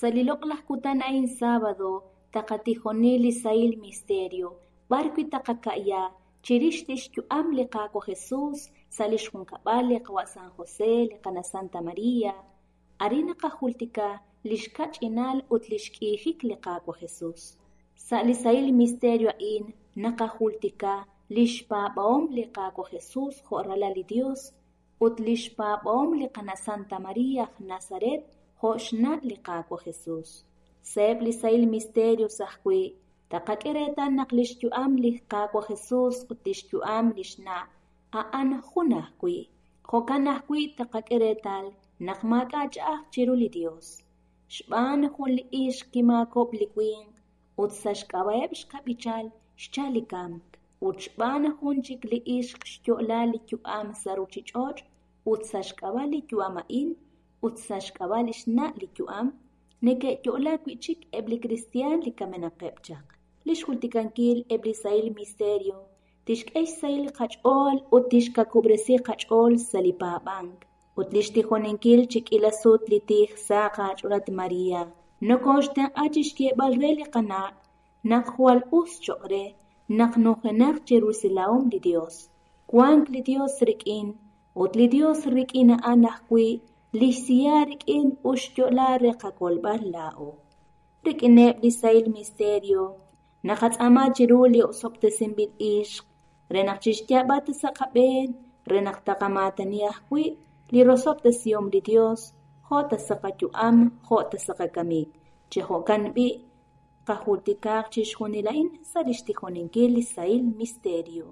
Sa' li loq'laj kutan a'in sábado taqatijoni li sahil misterio b'ar wi' taqaka'ya chirix lix yu'am li Qaawa' Jesus sa' lix junkab'al li qawa' San José, li qana' Santa María. Arin naqajultika lix kach'inal ut lix k'iijik li Qaawa' Jesus. Sa' li sahil misterio a'in naqajultika lix paab'ahom li Qaawa' Jesus jo' ralal li Dios ut lix paab'ahom li qana' Santa María aj Nazaret jo' xna' li Qaawa' Jesus. Sa'eb' li sahil misterios ajwi' taqak'e reetal naq lix yu'am li Qaawa' Jesus ut lix yu'am lix na' a'an jun ajwi'. Jo'kan ajwi' taqak'e reetal naq maak'a' ch'a'aj chiru li Dios. Xb'aan jun li ixq kimaakob'k li winq ut sa' xk'ab'a'eb' xkab'ichal xchal li kamk. Ut xb'aan jun chik li ixq xyo'la li yu'am sa' ruchich'och' ut sa' xk'ab'a' li yu'am a'in ut sa' xk'ab'a' lix na' li yu'am neke'yo'la wi'chik eb' li kristiaan li kamenaqeb' chaq. Lix jultikankil eb' li sahil misterio tixk'e xsahil qach'ool ut tixkakub'resi qach'ool sa' li paab'ank. Ut lix tijoninkil chi k'iila sut li tij saq aach'ool María nokoxtenq'a chixyeeb'al re li qana' naq jwal us choq' re naq nujenaq chi rusilahom li Dios. Wank li Dios rik'in ut li Dios rik'in a'an ajwi' lix siya rik'in ut xyo'la re qakolb'al laa'o. Rik'ineb' li sahil misterio naqatz'aama chiru li osob'tesinb'il ixq re naq chixyaab'a ta sa' qab'een re naq taqamaatani ajwi' li rosob'tesihom li Dios jo' ta sa' qayu'am jo' ta sa' qakamik. Chi jo'kan b'i' qajultikaaq chixjunil a'in sa' lix tijoninkil li sahil misterio.